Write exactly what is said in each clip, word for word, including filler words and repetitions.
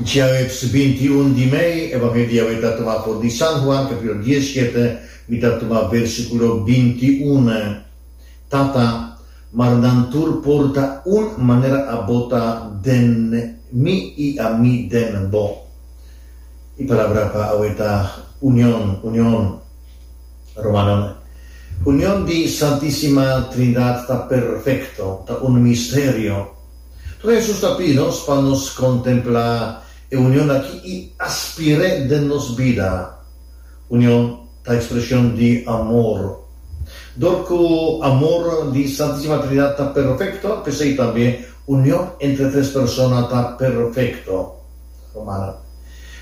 Djaweps binti un di mei, Evangelio di awe ta tumá for di San Juan, kapítulo diesshete, mi ta tuma versíkulo binti un. Tata, mara nan tur por ta un manera abo ta den mi i ami den bo. E palabra pa awe ta union, union. Rumannan, union di Santísima Trinidad ta perfekto, ta un misterio. Tur Hesus ta pidi nos pa nos kontemplá e union aki i aspir'é den nos bida. Union ta ekspreshon di amor. Dor ku amor di Santísima Trinidad ta perfekto, p'esei tambe union entre tres persona ta perfekto. Rumannan,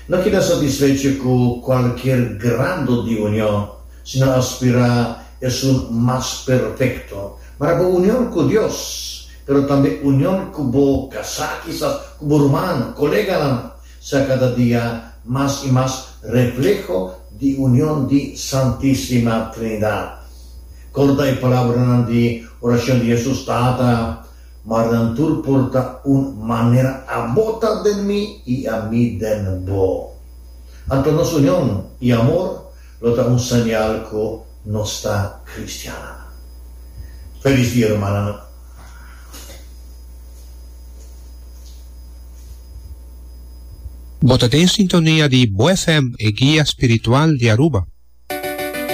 no keda satisfecho ku kualkier grado di union, sino aspirá esun mas perfekto. Mara bo union ku Dios, pero tambe union ku bo kasá, kisas ku bo ruman, koleganan, sea kada dia mas i mas refleho di union di Santísima Trinidad. Korda e palabranan di orashon di Hesus, Tata, mara nan tur por ta un manera abo ta den mi i ami den bo. Anto nos union i amor lo ta un señal ku nos ta kristiannan. Felis dia, rumannan. Bo ta den sintonia di Bo F M, e guia spiritual di Aruba.